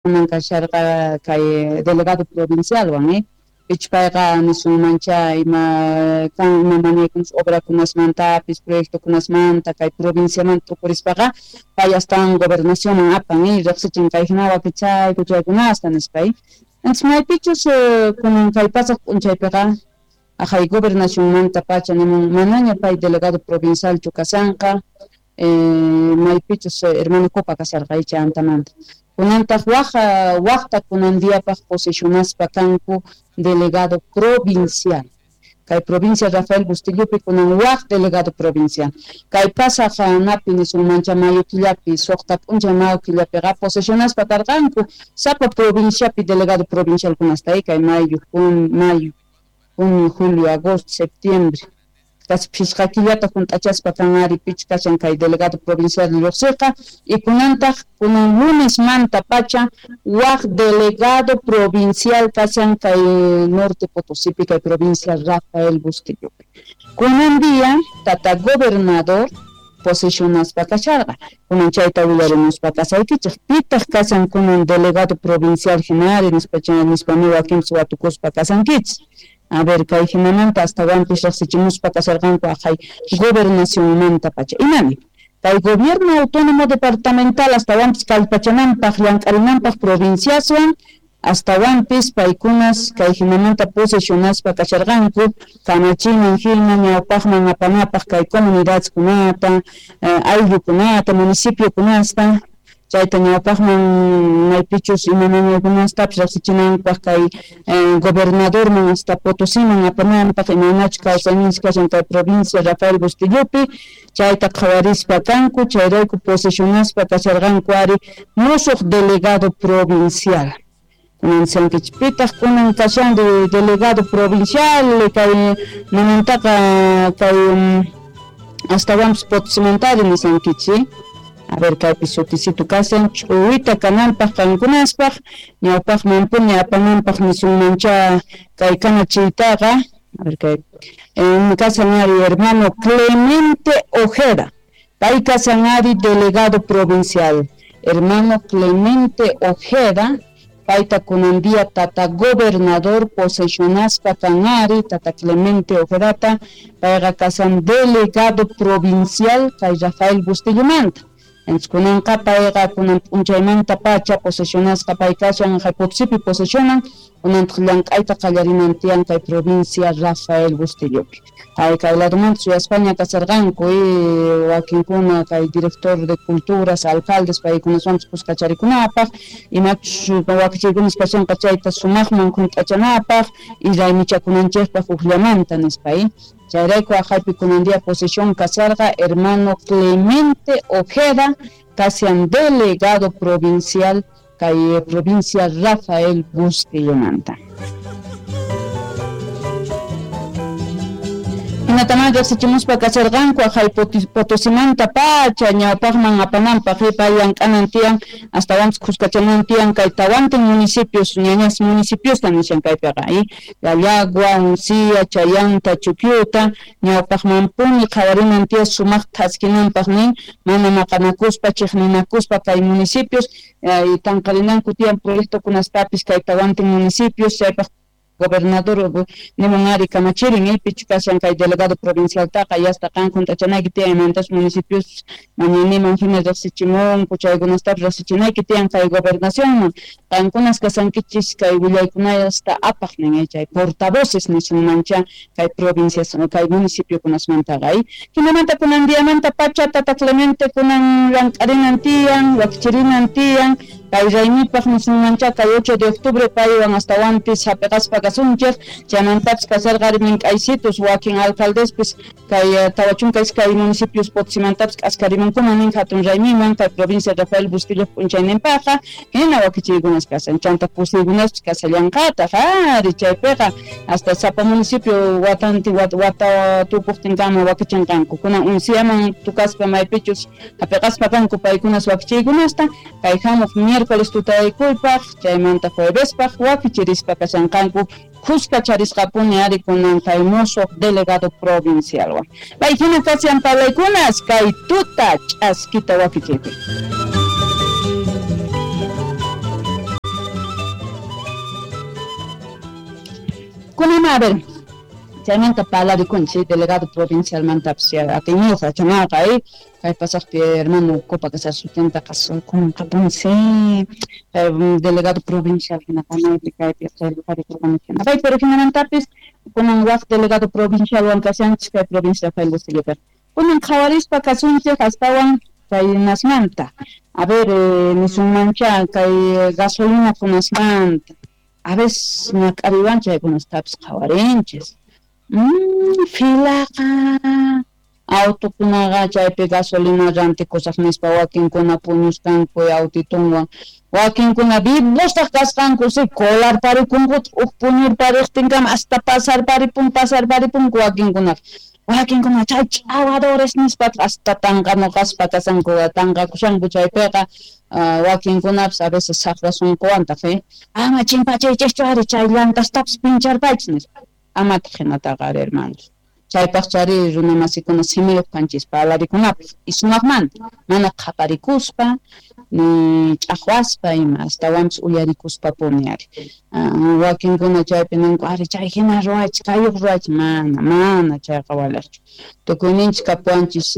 Kunan kasharqa kay delegado provincialwan, pichus payqa nisunmancha ima kan ima mañaykunas obrakunasmantapis proyectokunasmanta kay provinciamanta t'ukurispaqa pay astawan gobernacionman apan, riqsichin kay jina wakichayku chaykunasta nispa. Entonces maypichus kunan kay pasaq p'unchaypiqa aqhay gobernacionmantapacha nimun manaña pay delegado provincialchu kashanqa, maypichus hermano Copa kasharqa chantamanta. Kunantaq waqta kunan diapaq posesionaspa kanku delegado provincial. Kay provincia Rafael Bustillopi kunan waq delegado provincial. Kay pasaq napi nisunmancha mayo killapi, suqta p'unchay mayo killapiqa posesionaspa karqanku sapa provinciapi delegado provincialkunasta, kay mayo, mayo, junio, julio, agosto, septiembre. Casi phisqa killata junt'achaspa kan ari pichus kashan kay delegado provincial lluqsiqa y kunantaq kunan lunesmanta pacha waq delegado provincial kashan kay Norte Potosípi kay provincia Rafael Bustillopi. Kunan día tata gobernador posesionaspa kasharqa. Kunan chayta willarimuspa kasaykichej. Pitaq kashan kunan delegado provincial hinari nispa nispami wakinpis watukuspa kasankichis. A ver, kay hinamanta astawanpis riqsichimuspa kasharqanku aqhay gobernacionmanta pacha. Imani? Kay gobierno autónomo departamental astawanpis kallpachananpaq llank'arinanpaq provinciaswan astawanpis paykunas kay hinamanta posesionaspa kasharqanku kamachiman hina ñawpaqman apanapaq kay comunidadkunata, ayllukunata, municipiokunasta chayta ñawpaqman maypichus imamankunastapis riqsichinankupaq kay gobernadorman hasta Potosíman apananpaq imaynachus kawsayninchis kashan kay provincia Rafael Bustillopi chayta qhawarispa kanku chayrayku posesionaspa kasharqanku ari musuq delegado provincial. Kunan sankichis pitaq kunan kashan delegado provincial kay manantaqa kay astawanpis Potosimantari nisankichis. A ver, kaypi sutisito kashan ch'uwita kananpaq qankunaspaq ñawpaqmanpuni apananpaq nisunmancha kay kamachiytaqa. A ver, kay kashan ari hermano Clemente Ojeda, pay kashan ari delegado provincial. Hermano Clemente Ojeda, payta kunan día tata gobernador posesionaspa kan ari tata Clemente Ojedata, payqa kashan delegado provincial kay Rafael Bustillomanta. Entonces kunanqa payqa kunan p'unchaymanta pacha posesionasqa pay kashan Potosipi posesionan kunantaq llank'ayta qallarinan tiyan kay provincia Rafael Bustillopi. Kay kay ladomanta suyaspaña kasharqanku wakinkuna kay director de culturas, alcaldes paykunaswanpis kuskacharikunapaq imachus wakichiykunas kashanqa chayta sumaqman junt'achanapaq y raymichakunanchikpaq hukllamanta nispa. Chayrayku aqhaypi kunan día posesión kasharqa hermano Clemente Ojeda kashan delegado provincial kay provincia Rafael Bustillomanta. Hinataman riqsichimuspa kasharqanku aqhay Potosimanta pacha ñawpaqman apananpaq pay llank'anan tiyan astawanpis khuskachanan tiyan kay tawantin municipios ñañas municipiosta nishan kaypiqa Llallagua, Uncía, Chayanta, Chuquiuta ñawpaqmanpuni qhawarinan tiyan sumaq thaskinanpaq nin mana maqanakuspa chiqninakuspa kay municipios tanqarinanku tiyan proyectokunastapis kay tawantin municipios chaypaq gobernador nimun ari kamachirin pichu kashan kay delegado provincialtaqa yasta qan junt'achanayki tiyan imantas municipios mañaniman hina riqsichimunku chaykunastapis riqsichinayki tiyan kay gobernacionman qankunas kasankichis kay willaykunasta apaq nin chay portavoces nisunmancha kay provincias kay municipiokunasmantaqa. Hinamanta kunan diamanta pacha tata Clemente kunan llank'arinan tiyan wakichirinan tiyan kay raymipaq nisunmancha kay 8 de octubre paywan astawanpis hapiqaspa kasunchik chaymantapis kasharqa ari mink'aysitus wakin alcaldespis kay 42 municipios Potosimantapis k'askarimunkuman nin hatun raymiman kay provincia Rafael Bustillo p'unchayninpaqqa hina wakichiykunas kashan chanta kusiykunaspis kashallanqataq ari chaypiqa hasta sapa municipio watanti wata tukuqtinkama wakichinqanku kunan Unciaman tukaspa maypichus hapiqaspa kanku paykunas wakichiykunasta kay hamuq miércoles tutaykuypaq chaymanta juevespaq wakichirispa kashanqanku khuskacharisqapuni ari kunan kay musuq delegado provincialwan. Pay hina kashan parlaykunas kay tuta ch'askita wakichiypi. Kunama, a ver, chaymanta parlarikunchik delegado provincialmantapis atiyniyuq yachanaqa kay pasaqpi hermano Copa kasar sutintaqa qunqapunsi delegado provincial hina kanaypi kaypi qillqarikurqani pay, pero hinamantapis kunan waq delegado provincialwan kashanchik kay provincia Rafael Bustillopiqa. Kunan qhawarispa kasunchik astawan kay nasmanta, a ver, nisunmancha kay gasolina kunasmanta, a veces ñak'ariwan chaykunastapis qhawarinchis. Filaqa autokunaqa chaypi gasolina rantikusaq nispa wakinkuna puñusqanku autitunwan, wakinkuna vivostaq kasqanku si colarparikunkutaq uj puñurpariqtinkama hasta pasarparipun pasarparipunku wakinkunaqa, wakinkuna chay ch'awadores nispataq hasta tanqanuqaspa kasanku tanqakushanku chaypiqa. Wakinkunapis a veces saqra sunquwantaq ama chimpachiychischu ari chay llantastapis pincharpaychis nispa, amataq hinataqa ari hermanos. Chaypaq chari runamasikuna simiyuq kanchis parlarikunapaq y sumaqmanta, mana qhaparikuspa ni ch'aqwaspa ima, astawanpis uyarikuspapuni ari. Wakinkuna chaypi ninku ari chay hina ruwaychis kayuq ruwaychis, mana mana chayqa waliqchu. Tukuyninchis kapuwanchis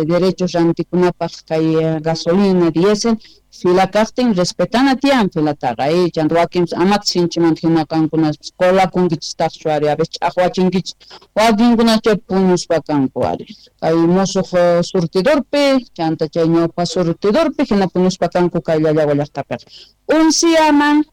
derechos rantikunapaq kay gasolina, diésel, fila kaqtin respetana tiyan filataqa, chanta wakinpis amataq sinchimanta hina qankunaspis colakunkichistaqchu ari, a veces ch'aqwachinkichis, wakinkuna chay puñuspa kanku ari kay musuq surtidorpi, chanta chay ñawpa surtidorpi hina puñuspa kanku kay Llallagua llaqtapiqa. Unsiaman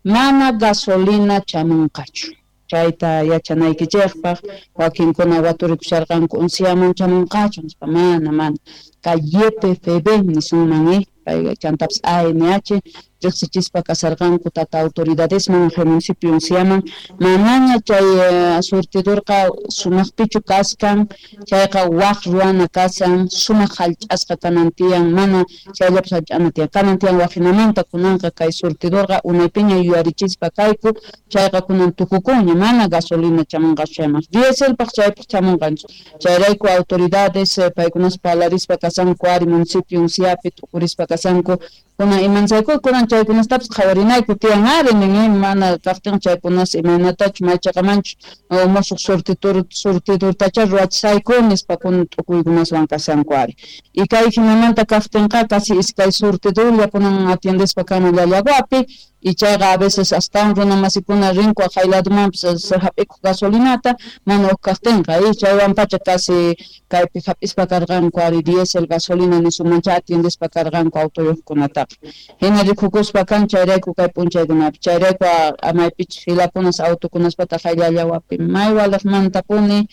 mana gasolina chamunqachu, chayta yachanaykichikpaq wakinkuna waturikusharqanku unsiaman chamunqachu nispa, mana mana kay YPFB nisunman pay chantapis ANH riqsichispa kasarqanku tata autoridadesman municipio unsiaman, manaña chay surtidorqa sumaqpichu kaskan, chayqa waq ruwana kasan, sumaq hallch'asqa kanan tiyan, mana chayllapis hallch'ana tiyan, kanan tiyan waqhinamanta kunanqa kay surtidorqa unaypiña yuyarichispa kayku, chayqa kunan tukukunña, mana gasolina chamunqachu chayman, dieselpaq chaypaq chamunqanchu, chayrayku autoridades paykunas parlarispa kasanku ari municipio unsiapi t'ukurispa kasanku, kunan imansayku kunan chaykunastapis qhawarinayku tiyan ari nin mana kaqtin chaykunas imaynatachu maychaqamanchu musuq surtidortacha ruwachisayku nispa kunan t'ukuykunaswan kashanku ari. Y kay hinamanta kaqtinqa casi iskay surtidorlla kunan atiendespa kanan Llallaguapi, y chayqa a veces astawan runamasikuna rinku aqhay ladomanpis hap'ikuq gasolinata mana uj kaqtinqa, y chaywanpacha casi kaypi hap'ispa karqanku ari diésel gasolina nisunmancha atiendespa karqanku autoyuqkunataqa. Hina rikukuspa kan chayrayku kay p'unchaykunapi, chayrayku maypichus filakunas autokunaspataq hay Llallaguapi may waliqmantapuni,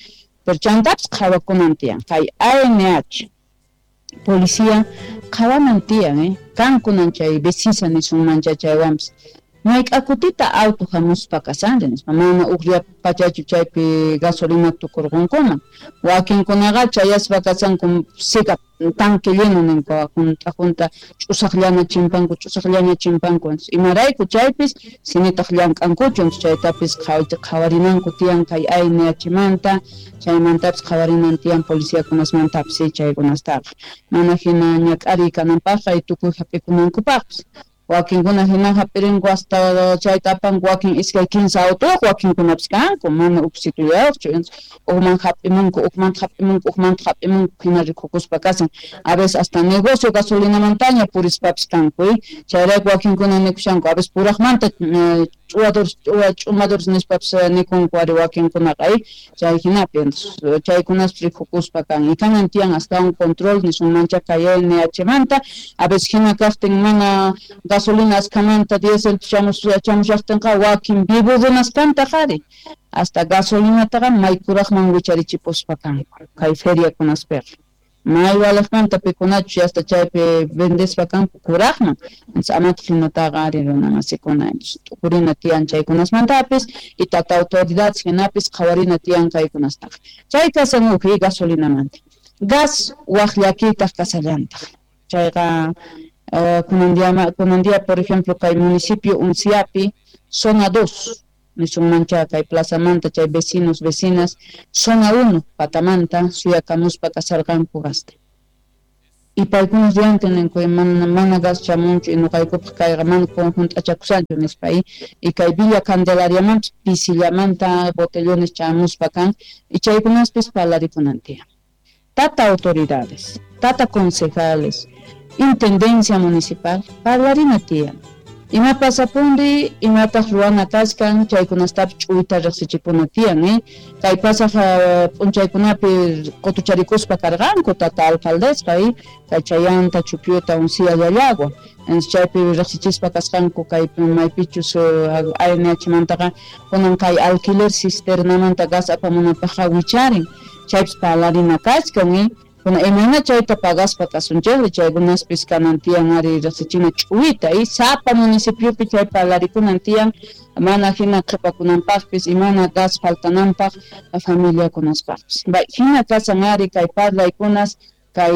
pero chantapis qhawakunan tiyan kay ANH policía qhawanan tiyan, kankunan chay vecisa nisunmancha chaywanpis mayk'akutita auto hamuspa kasanri nispa, mana uqlla pachachu chaypi gasolina tukurqunkuman, wakinkunaqa chayaspa kasanku sika tanque lleno ninku junta junta ch'usaqllana chimpanku ch'usaqllaña chimpanku, imarayku chaypis sinitaq llank'ankuchu, chaytapis qhawarinanku tiyan kay ANHmanta, chaymantapis qhawarinan tiyan policiakunasmantapis chaykunastaqa, mana hina ñak'ariy kananpaqqa y tukuy hap'ikunankupaqpis. Wakinkuna hina hap'irinku hasta chayta apanku wakin iskay kinsa autoyuq wakinkunapis kanku mana uksitullayuqchu, ukman hap'imunku ukmanta hap'imunku ukmanta hap'imunku hina rikukuspa kasan, a veces hasta negocio gasolinamantaña purispapis kanku, chayrayku wakinkuna nikushanku a veces puraqmanta ch'uwadores ch'umadores nispapis nikunku ari wakinkunaqa, chay hinapi chaykunaspis rikukuspa kan, y kanan tiyan astawan control nisunmancha kay ANHmanta, a veces hina kaqtin mana gasolina askhamanta diésel chamushaqtinqa wakin vivo runas kantaq ari hasta gasolinataqa may kuraqman wicharichipuspa kanku kay feriakunaspiqa, may waliqmanta pikunachu hasta chaypi vendespa kanku kuraqman, amataq hinataqa ari runamasikuna t'ukurina tiyan chaykunasmantapis y tata autoridades hinapis qhawarina tiyan kaykunastaqa. Chay kasan uj gasolinamanta. Gas waq llakiytaq kasallantaq, chayqa kunan día por ejemplo kay municipio Unciapi zona 2 nisunmancha kay plazamanta chay vecinos vecinas zona 1 patamanta suyakamuspa kasarqanku gasta. Y paykuna riantin ninku mana gas chamunchu y nuqaykupaq kayqa mana hunt'achakushanchu nispa y kay Villa Candelariamanpis pisillamanta botellones chamuspa kan y chaykunaspis parlarikunan tiyan. Tata autoridades, tata concejales, intendencia municipal, parlarina tiyan. Ima pasapunri, imataq ruwana kachkan, chaykunastapis ch'uyta riqsichipuna tiyan, kay pasaq p'unchaykunapi qutucharikuspa karqanku tata alcaldesqa, kay Chayanta, Chupyuta, Uncía, Llallagua. Chaypi riqsichispa kasqanku kay maypichus ANH-mantaqa kunan kay alquiler cisternamanta gas apamunapaqqa wicharin, chaypis parlarina kachkan, Kuna imayna chayta pagaspa kasunchikri, chaykunaspis kanan tiyan ari riqsichina ch'uwita y sapa municipiopi chay parlarikunan tiyan mana hina qhipakunanpaqpis y mana gas faltananpaq familiakunaspaqpis. Hina kasan ari kay parlaykunas kay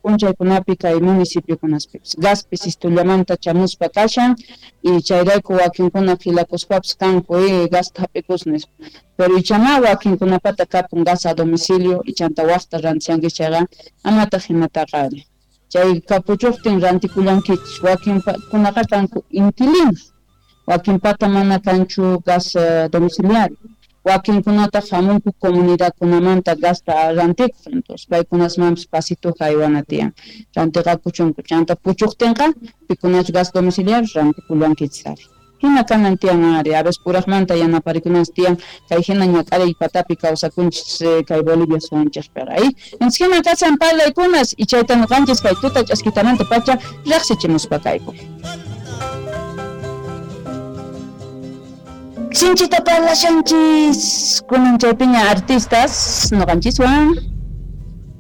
p'unchaykunapi kay municipiokunaspipis. Gaspis istullamanta chamuspa kashan y chayrayku wakinkuna filakuspapis kanku gasta hap'ikus nispa. Pero ichama wakinkunapata kapun gas a domicilio y chanta waqta rantiyanki chayqa amataq hinataqa ari. Chay kapuchuqtin rantikullankichis wakinkunaqa kanku inquilinos, wakinpata mana kanchu gas domiciliario. Wakinkunataq hamunku comunidadkunamanta gasta rantikuq, entonces paykunasmanpis pasituqa aywana tiyan rantiqakuchunku chanta puchuqtinqa pikunachu gas domiciliario rantikullankichis ari. Hina kanan tiyan ari, a veces puraqmanta yanaparikunanchis tiyan kay hina ñak'ariy patapi kawsakunchis kay Bolivia suwanchikpiqa. Entonces hina kasan parlaykunas y chayta ñuqanchis kay tuta ch'askitamanta pacha riqsichimuspa kayku. Sinchita parlashanchis kunan chaypiña artistas ñuqanchiswan.